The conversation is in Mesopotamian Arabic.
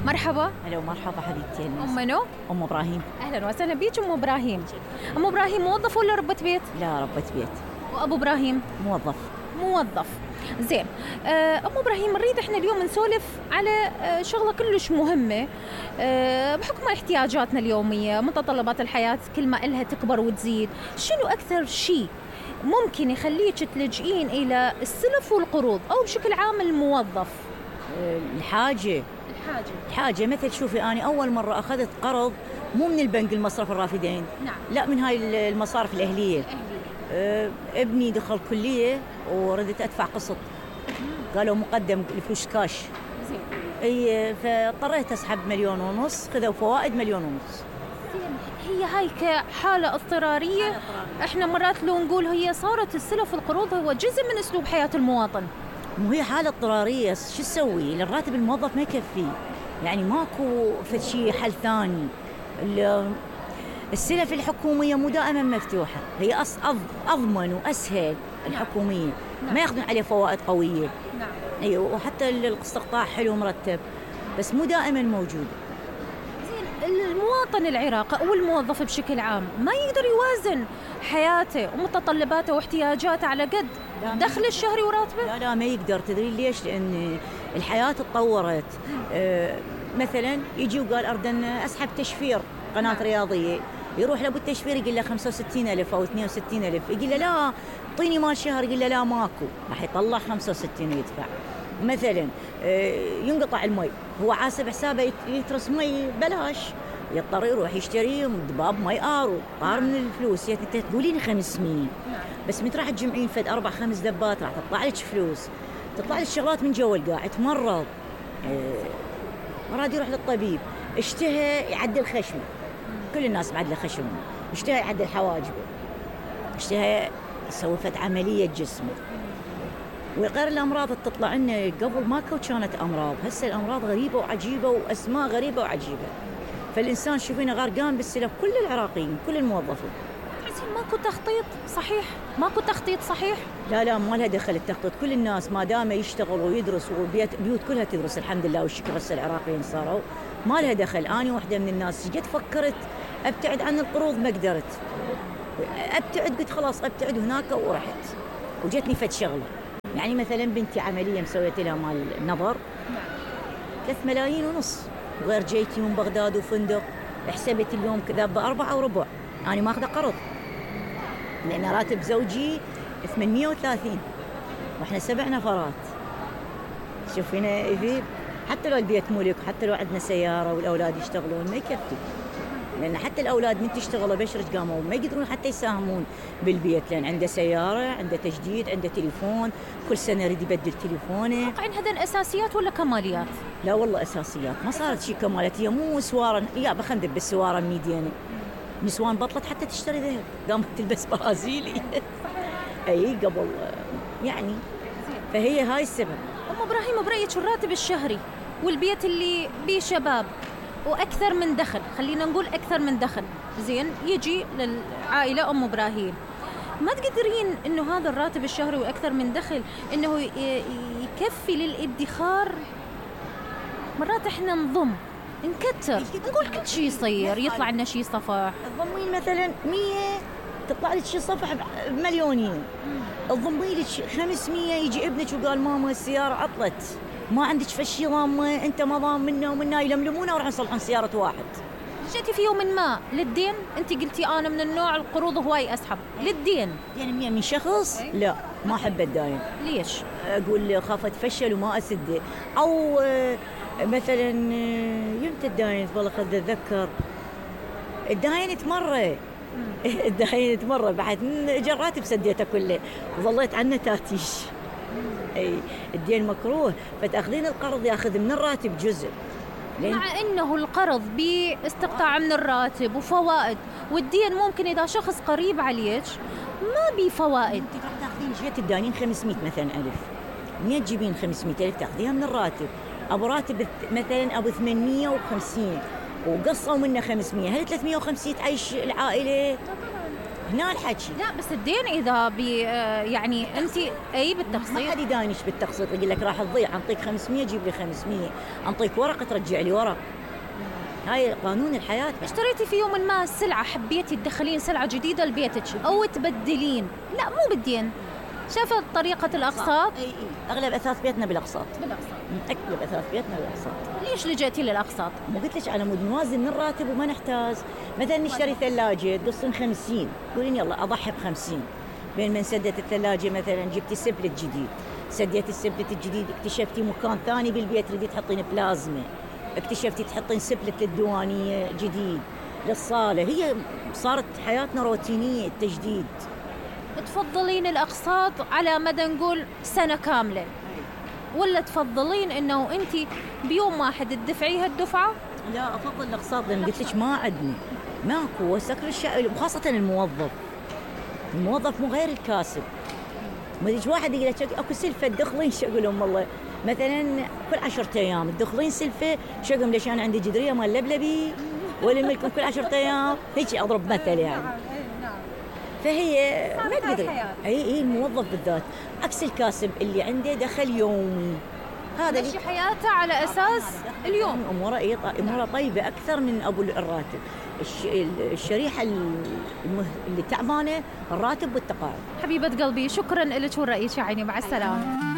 مرحبا. هلا ومرحبا حبيبتي. أم منو؟ أم إبراهيم. أهلا وسهلا بيك أم إبراهيم. أم إبراهيم موظف ولا ربة بيت؟ لا، ربة بيت. وأبو إبراهيم؟ موظف. موظف. زين. أم إبراهيم، نريد إحنا اليوم نسولف على شغلة كلش مهمة بحكم احتياجاتنا اليومية، متطلبات الحياة كل ما إلها تكبر وتزيد. شنو أكثر شيء ممكن يخليك تلجئين إلى السلف والقروض أو بشكل عام الموظف؟ الحاجة مثل شوفي، أنا أول مرة أخذت قرض مو من البنك المصرف الرافدين. نعم. لا، من هاي المصارف الأهلية. ابني دخل كلية وردت أدفع قسط، قالوا مقدم الفلوس كاش. زين. اي، فاضطريت اسحب 1.5 مليون، خذوا فوائد 1.5 مليون. هي هاي كحالة اضطرارية. احنا مرات لو نقول هي صارت السلف والقروض هو جزء من اسلوب حياة المواطن. مو هي حالة اضطرارية، شو تسوي؟ الراتب الموظف ما يكفي، يعني ماكو شيء حل ثاني. السلف الحكومية مو دائما مفتوحة، هي أضمن وأسهل. الحكومية ما ياخذون عليه فوائد قوية. نعم. ايوه، وحتى الاستقطاع حلو مرتب، بس مو دائما موجود. زين، المواطن العراقي او الموظف بشكل عام ما يقدر يوازن حياته ومتطلباته واحتياجاته على قد دخل الشهري وراتبه؟ لا، ما يقدر. تدري ليش؟ لان الحياة تطورت. مثلا يجي وقال اريد ان اسحب تشفير قناة رياضية، يروح لابو التشفير يقول له 65,000 أو 62,000، يقول له لا اعطيني مال شهر، يقول له لا ماكو، راح يطلع 65 ويدفع. مثلا ينقطع المي، هو حاسب حسابه يترس مي بلاش، يضطر يروح يشتري ضباب مي ارو طار من الفلوس. انت تقولين 500، بس متى راح تجمعين فد 4-5 دبات راح تطلع لك فلوس، تطلع لك شغلات من جو القاع. تمرض، مراد يروح للطبيب، اشتهى يعدل خشمه، كل الناس معدله خشمه، اشتهى يعدل حواجبه، اشتهى يسوي فد عملية جسمه. وغير الأمراض تطلع لنا، قبل ما كانت أمراض، هسه الأمراض غريبة وعجيبة وأسماء غريبة وعجيبة. فالإنسان شوفينا غرقان بالسلف، كل العراقيين كل الموظفين. تحسين ماكو تخطيط صحيح؟ ماكو تخطيط صحيح؟ لا، ما لها دخل التخطيط. كل الناس ما دام يشتغل ويدرس، وبيوت كلها تدرس الحمد لله والشكر، هسه العراقيين صاروا ما لها دخل. أنا واحدة من الناس جيت فكرت أبتعد عن القروض، ما قدرت أبتعد، قلت خلاص أبتعد هناك ورحت. وجتني فد شغلة، يعني مثلا بنتي عملية مسويت لها مال نظر 3.5 ملايين، وغير جيتي من بغداد وفندق، حسبت اليوم كذا ب4.25. أنا ما أخذ قرض لأن راتب زوجي 830 وإحنا 7 نفرات. شوفينا يذيب، حتى لو البيت ملك، حتى لو عندنا سيارة والأولاد يشتغلون ما يكفي، لأن حتى الأولاد من تشتغلوا بشرج قاموا ما يقدرون حتى يساهمون بالبيت، لأن عنده سيارة، عنده تجديد، عنده تليفون، كل سنة يريد يبدل تليفونه. واقعين هذا أساسيات ولا كماليات؟ لا والله أساسيات، ما صارت شيء كمالات. هي مو سوارة، يا بخندب بالسوارة 100 دينار، نسوان بطلت حتى تشتري ذهب، قامت تلبس برازيلي. أي قبل يعني. فهي هاي السبب. أم إبراهيم، برأيك الراتب الشهري والبيت اللي بيه شباب وأكثر من دخل، خلينا نقول أكثر من دخل، زين، يجي للعائلة أم إبراهيم، ما تقدرين إنه هذا الراتب الشهري وأكثر من دخل إنه يكفي للادخار؟ مرات إحنا نضم نكتر، نقول كل شيء يصير، يطلع لنا شيء صفح. تضمين مثلا 100 تطلع لك شيء صفح بمليونين، تضمين لك 500 يجي ابنك وقال ماما السيارة عطلت، ما عندك فشي ضامة، انت ما ضام منا ومنا، يلملمونا وراح نصلحون سيارة واحد. جيتي في يوم ما للدين، انت قلتي انا من النوع القروض هواي اسحب للدين. يعني من شخص لا ما احب الداين. ليش؟ اقول خاف اتفشل وما اسده. او مثلا يمتى الداين والله خذ اتذكر الداين تمره الداين تمره بعد جراتي بسديته كله وظليت عنه تاتيش. اي الدين مكروه، فتاخذين القرض ياخذ من الراتب جزء، مع انه القرض باستقطاع من الراتب وفوائد، والدين ممكن اذا شخص قريب عليك ما بي فوائد. انت راح تاخذين جهه الداينين 500 مثلا الف، منين تجيبين 500 الف؟ تاخذيها من الراتب. ابو راتب مثلا ابو 850 وقصوا منه 500، هل 350 تعيش العائله؟ هنا الحكي. لا بس الدين اذا يعني انت اي ما بالتقسيط. حد يداينش بالتقسيط، يقول لك راح تضيع، انطيك 500 جيب لي 500، انطيك ورق ترجع لي ورق. هاي قانون الحياه. اشتريتي في يوم ما سلعه، حبيتي تدخلين سلعه جديده لبيتك او تبدلين، لا مو بالدين، شافت طريقه الاقساط. اي اغلب اثاث بيتنا بالاقساط. بالاقساط. اغلب اثاث بيتنا بالاقساط. ليش لجيتي للاقساط؟ مو قلت لك على مود نوازن من الراتب وما نحتاج. مثلا نشتري ثلاجه تقصين 50، تقولين يلا اضحي ب50، بين ما سدت الثلاجه مثلا جبتي سبلت جديد، سديتي السبلت الجديد اكتشفتي مكان ثاني بالبيت تريدي تحطين بلازمه، اكتشفتي تحطين سبلت للديوانيه جديد، للصاله. هي صارت حياتنا روتينيه التجديد. تفضلين الاقساط على مدى نقول سنه كامله، ولا تفضلين انه انت بيوم واحد تدفعيها الدفعه؟ لا افضل الاقساط، لان قلت لك ما عندنا ماكو وسكر الشيء، وخاصه الموظف مو غير الكاسب. ما يجي واحد يقول لك اكو سلفه تدخلين، شو اقول لهم والله مثلا كل 10 ايام تدخلين سلفه، شو اقول ليش انا عندي جدريه مال لبلبي ولا ملكم كل 10 ايام، هيك اضرب مثل يعني. فهي ما تقدر. اي الموظف بالذات عكس الكاسب اللي عنده دخل يومي، هذا ماشي حياته على اساس اليوم. اموره طيبه اكثر من ابو الراتب. الشريحه اللي تعبانه الراتب والتقاعد. حبيبه قلبي شكرا لك ورأيك يا عيني، مع السلامه.